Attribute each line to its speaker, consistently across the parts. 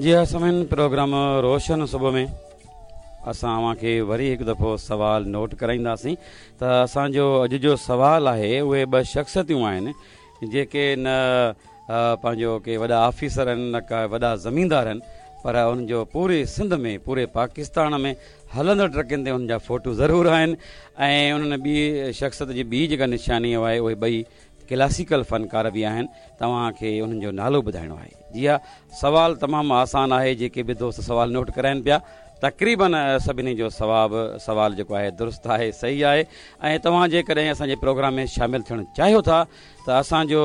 Speaker 1: جي ها سامعين پروگرام روشن صبح ۾ اسان اوهان کي وري هڪ دفعو سوال نوٽ ڪرائينداسين ته اسان جو اڄ جو سوال آهي اهي ٻه شخصيتون آهن جيڪي نه پنهنجو ڪي وڏا آفيسر آهن نه ڪا وڏا زميندار آهن پر انهن جو پوري سنڌ ۾ پوري پاڪستان ۾ هلندڙ ٽرڪن تي انهن جا فوٽو ضرور آهن ۽ انهن ٻي شخصيت جي ٻي جيڪا نشاني آهي اهي ٻئي ڪلاسيڪل فنڪار به آهن توهان کي انهن جو نالو ٻڌائڻو آهي جي ها سوال تمام آسان آهي جيڪي به دوست سوال نوٽ ڪرائن پيا تقريبن سڀني جو سواب سوال جيڪو آهي درست آهي صحيح آهي ۽ توهان جيڪڏهن اسان جي پروگرام ۾ شامل ٿيڻ چاهيو ٿا ته اسان جو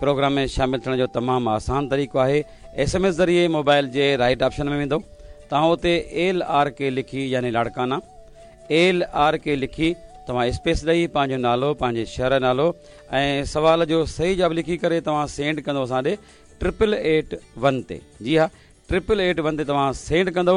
Speaker 1: پروگرام ۾ شامل ٿيڻ جو تمام آسان طريقو آهي ايس ايم ايس ذريعي موبائل جي رائٽ آپشن ۾ ويندو توهان اتي ايل آر ڪي لکي يعني لاڙڪانا ايل آر ڪي لکي توهان اسپيس ڏئي پنهنجو نالو پنهنجي شهر جو نالو ۽ سوال جو صحيح جواب لکي ڪري توهان سينڊ ڪندو اسان ڏي ٽرپل ايٽ ون تي جي ها ٽرپل ايٽ ون تي توهان سينڊ ڪندو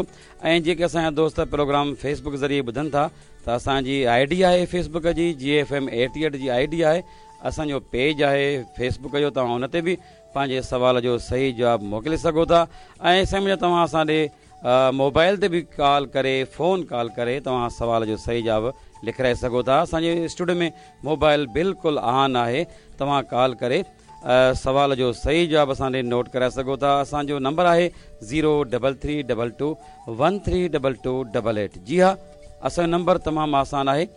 Speaker 1: ۽ جيڪي اسان جا دوست پروگرام فيس بڪ ذريعي ٻڌن ٿا ته اسان جي I D آهي فيس بڪ جي جي ايف ايم ايٽي ايٽ جي I D آهي اسان جو پيج آهي فيس بڪ جو توهان ان تي به پنهنجي سوال جو صحيح جواب موڪلي سگهو ٿا ۽ سمجهو توهان اسان ڏي موبائل تي به ڪال ڪري فون ڪال ڪري توهان سوال جو صحيح جواب لکرائي سگهو ٿا اسان جي اسٽوڊيو ۾ موبائل بلڪل آن آهي توهان ڪال ڪري سوال جو صحيح جواب اسان ڏي نوٽ ڪرائي سگهو ٿا اسان جو نمبر آهي zero double three double two one three double two double eight جي ها اسان جو نمبر تمام آسان آهي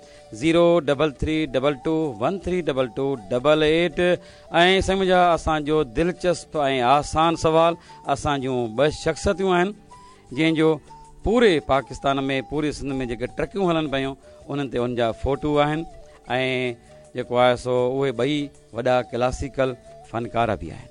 Speaker 1: zero double three double two one three double two double eight ۽ سمجھا اسان جو دلچسپ ۽ آسان سوال اسان جون ٻه شخصيتون آهن جنهن جو پوري پاڪستان ۾ پوري سنڌ ۾ جيڪي ٽرڪيون هلن پيون انهن تي ان جا فوٽو آهن ۽ جيڪو آهي سو اهي ٻئي وڏا ڪلاسيڪل فنڪار به آهن.